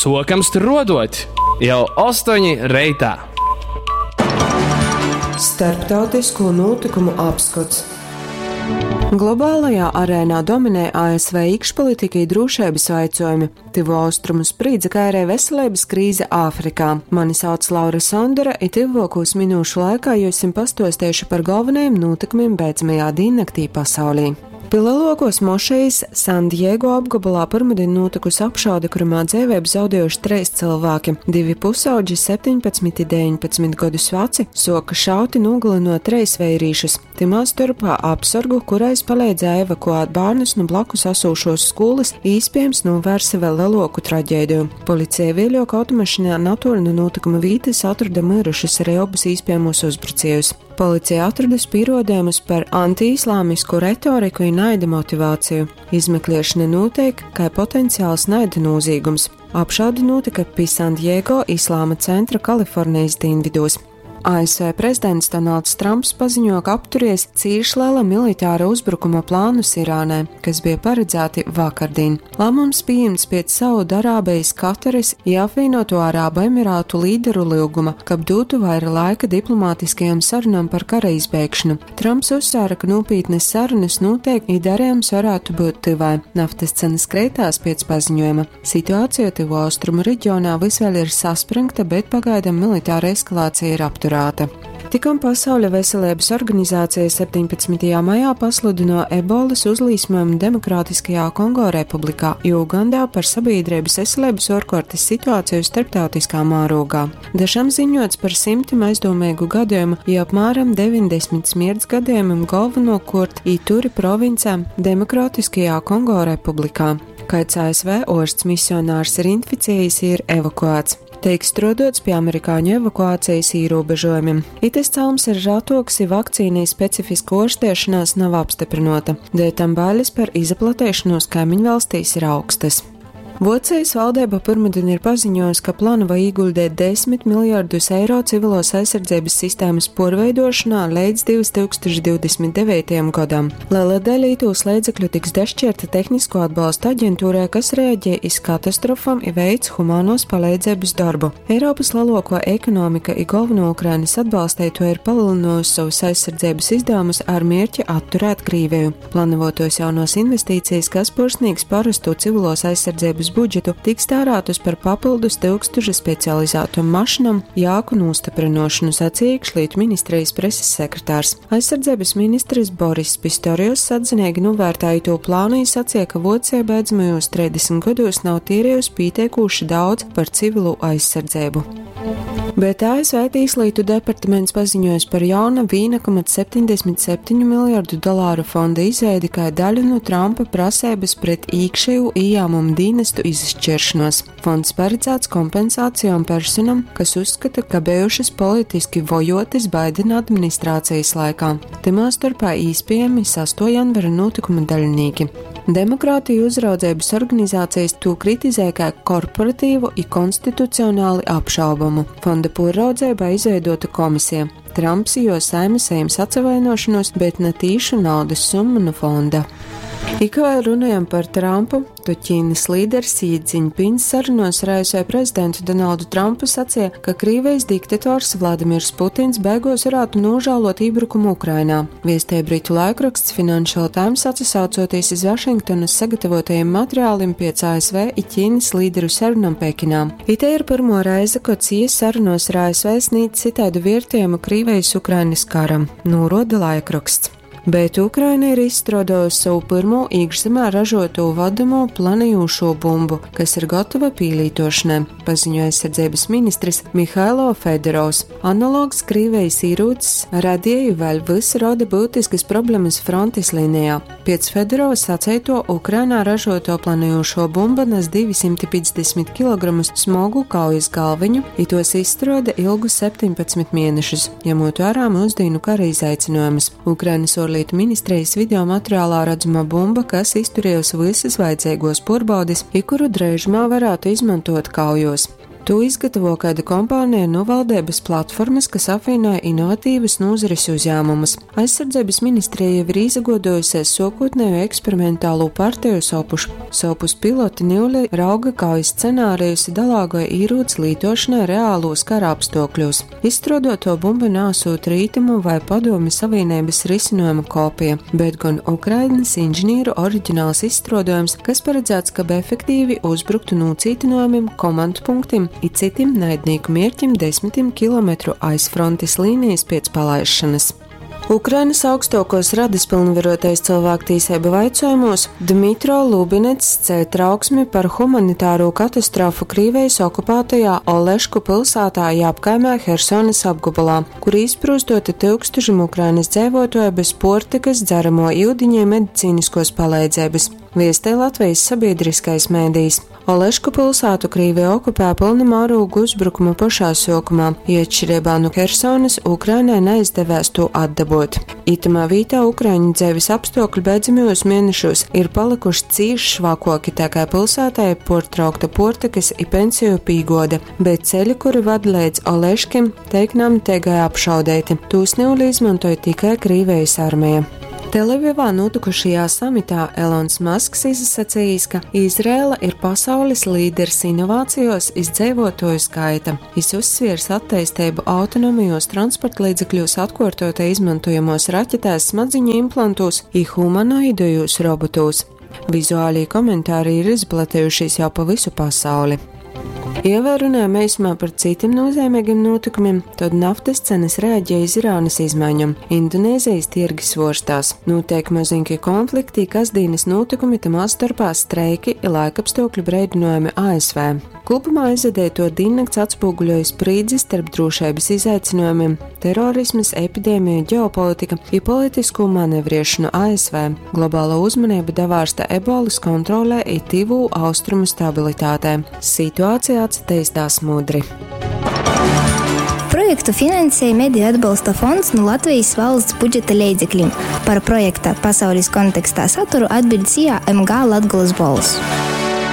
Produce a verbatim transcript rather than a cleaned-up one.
Sokam struodot jau ostoņi reitā. Starptautisko notikumu apskots. Globālajā arēnā dominē A S V iekšpolitika i drūšeibys vaicuojumi, Tyvu Austrumu sprīdze, kai arī veselības krīze Āfrikā. Mani sauc Laura Sondore, i tyvuokūs minūšu laikā jums pastuosteišu par galvenajiem notikumiem beidzamajā dīnnaktī pasaulī. Pi lielākos mošejas San Diego apgabalā pirmdien notikusi apšaude, kurā dzīvību zaudējuši trīs cilvēki. Divi pusaudži, septiņpadsmit un deviņpadsmit gadus veci, soka šauti, nogalinot treis veirīšus. Tymā storpā apsorgu, kurais palīdzēja evakuēt bērnus no blakus asūšos skolas, īspējams novērsa vēl lielāku traģēdiju. Policija vēļok automašīnā natuoļ no notikuma vītas atrada mirušus arī abus īspējamos uzbrucējus. Policija atradusi pierādījumus par antiislāmisku retoriku un naida motivāciju. Izmeklēšana notiek kā potenciāls naida noziegums. Apšaude notika pie San Diego Islāma centra Kalifornijas dienvidos. A S V prezidents Donalds Trumps paziņo, ka apturies cīši liela militāra uzbrukuma plānus Irānai, kas bija paredzēti vakardien. Lēmums pieņemts pēc Saudarābijas, Kataras i Apvienoto Arābu Emirātu līderu lūguma, kab dotu vaira laika diplomātiskajām sarunām par kara izbeigšanu. Trumps uzsvēra, ka nopietnas sarunas notiek, i darījums varētu būt tyvai. Naftas cenas kreitās pēc paziņojuma. Situācija Tuvo Austrumu reģionā vis vēl ir saspringta, bet pagaidām militāra eskalācija ir apturēta. Tikom Pasaules veselības organizācija septiņpadsmitajā maijā pasludino ebolas uzlīsmojumu Demokrātiskajā Kongo Republikā, i Ugandā par sabiedrības veselības ārkārtas situāciju starptautiskā mārogā. Da šam ziņots par simtiem aizdomīgu gadījumu, i apmēram deviņdesmit smierts gadījumiem galvenokārt Ituri provincē Demokrātiskajā Kongo Republikā. Kāds A S V orsts misionārs ir inficējies, ir evakuēts. Tiek strodots pie amerikāņu evakuācijas ierobežojumiem. Itis celms ir ratoks, i vakcīnai specifiska ārstēšanās nav apstiprinota, dēļ tam bailes par izplatēšanos kaimiņvalstīs ir augstas. Vocijas valdība pirmdien ir paziņojusi, ka plāno ieguldīt desmit miljardus eiro civilos aizsardzības sistēmas porveidošanā līdz divtūkstoš divdesmit devītajam gadam. Liela daļa itūs līdzekļu tiks dašķirta tehnisko atbalstu aģentūrai, kas reaģē iz katastrofām i veic humānos palīdzības darbu. Eiropas lielāko ekonomika i galveno Ukrainas atbalstīto ir palielinājusi savus aizsardzības izdevumus ar mērķi atturēt Krieviju. Plānotos jaunos investīcijas, kas pursnīgs parasto civilos aizsardzības budžetu, tiks tērētas par papildus tūkstošu specializētu mašīnām jāku nostiprinošanu, sacīja iekšlietu ministrijas preses sekretārs. Aizsardzības ministrs Boris Pistorius atzinīgi novērtēja to plānu, sacīja, ka Vocija beidzamajos trīsdesmit gados nav tērējusi pietiekuši daudz par civilu aizsardzību. Bet A S V Tieslietu departaments paziņojis par jauna viena komats septiņdesmit septiņu miljardu dolāru fonda izveidi kā daļu no Trumpa prasības pret iekšēju ieņēmumu dienestu izšķiršanos. Fonds paredzēts kompensācijām personam, kas uzskata, ka bijušas politiski vojotas Baidena administrācijas laikā. Tymā starpā īspējami sesto janvara notikuma daļinieki. Demokrātiju uzraudzības organizācijas to kritizē kā korporatīvu i konstitucionāli apšaubamu. Fonda poraudzībā izveidota komisija. Trumps jo saime saņems atsavainošanos, bet ne tīšu naudas summu no fonda. Ik vēl runājam par Trumpu, to Ķīnas līderis Xi Jinpings sarunos ar A S V prezidentu Donaldu Trumpu sacīja, ka Krīvijas diktators Vladimirs Putins beigos varētu nožēlot iebrukumu Ukrainā. Viestē britu laikraksts Financial Times, atsaucoties iz Vašingtonas sagatavotajiem materiāliem pēc A S V i Ķīnas līderu sarunam Pekinā. Ite ir pirmo reize, kad Xi sarunos ar A S V sniedz citādu vērtējumu Krīvijas-Ukrainas karam, noroda laikraksts. Bet Ukraina ir izstrādājusi savu pirmo iekšzemē ražoto vadamo planējošo bumbu, kas ir gatava pīlītošanai, paziņoja aizsardzības ministrs Mihailo Fedorovs. Analogs Krīvijas ierūcis radīja vēl visi rada būtiskas problēmas frontes līnijā. Pēc Fedorova sacēto, Ukrainā ražoto planējošo bumbu nes divsimt piecdesmit kilogramus smogu kaujas galviņu, i tos izstrāde ilgu septiņpadsmit mēnešus, ņemot vērā mūsdienu kara izaicinājumus. Ukrainas ārlietu ministrijas video materiālā redzama bumba, kas izturējusi visas vajadzīgos porbaudis, i kuru drēžumā varētu izmantot kaujos. Tū izgatavo kaida kompāneja nu valdeibys platformys, kas apvīnoja inovatīvys nūzaris uzjāmumus. Aizsardzeibys ministrija jau ir īsaguoduojusies suokūtneju eksperimentalū parteju sopuš. Sovpus piloti niule rauga kaujas scenārijus i dalāgoj īrūci lītuošanai reālūs kara apstuokļūs. Izstruoduotuo bumba naasūt Rītumu vai Padomju Savīneibys risinojuma kopija, bet gon Ukrainys inženīru oriģināls izstruodojums, kas paredzēts, kab efektīvi uzbruktu nūcītynuojumim, komandpunktim i cytim naidnīku mierķim desmitim kilometru aiz frontis līnijas piec palaišanas. Ukrainas augstuokuos radys pylnvaruotais cylvāktīseibu vaicuojumūs Dmitro Lubinets ceļ trauksmi par humanitārū katastrofu Krīvejis okupātajā Olešku pilsātā i apkaimē Hersonys apgobolā, kur īsprūstoti tyukstušim Ukrainas dzeivuotuoju bez puortykys, dzeramo iudiņa i medicīniskuos paleidzeibys, viestej Latvejis sabīdriskais medijs. Olešku pilsātu Krīvija okupēja pylna mārūga uzbrukuma pošā suokumā, i atšķireibā nu Hersonys Ukrainai naizdevēs tū atdabuot. Itamā vītā ukraiņu dzeivis apstuokļi beidzamajūs mienešūs ir palykuši cīši švakuoki, tā kai pilsātai ir puortraukta puortykys i pensiju pīguode, bet ceļi, kuri vad leidz Oleškim, teik namteigai apšaudeiti. Tūs niule izmontoj tikai Krīvejis armeja. Telavivā nūtykušajā samitā Elons Masks izasacījis, ka Izraela ir pasaulis līderis inovācijos iz dzeivuotuoju skaita. Jis uzsviers atteisteibu autonomajos transportlīdzekļūs, atkuortotai izmantojamos raķetēs, smadziņu implantūs i humanoidajūs robotūs. Vizuālī komentāri ir izplatejušies jau pa visu pasauli. Ja vēl runājam eisumā par citiem nozīmīgiem notikumiem, tad naftas cenas reaģē iz Irānas izmaiņom. Indonēzijas tirgi svorstās. Notiek mazinki konflikti, kasdienas notikumi, tamā starpā streiki i laikapstākļu breidinojumi A S V. Kopumā aizvadīto diennakts atspoguļoja sprīdzi starp drošības izaicinājumiem, terorismas, epidēmiju, ģeopolitika i politisko manevriešanu A S V. Globālo uzmanību davārsta ebolas kontrolē i tivū austrumu stabilitātē. Situācija atsateistās mudri. Projektu finansēja Mediju atbalsta fonds no Latvijas valsts budžeta leidzekļiem. Par projekta pasaules kontekstā saturu atbild S I A M G Latgulas Bolss.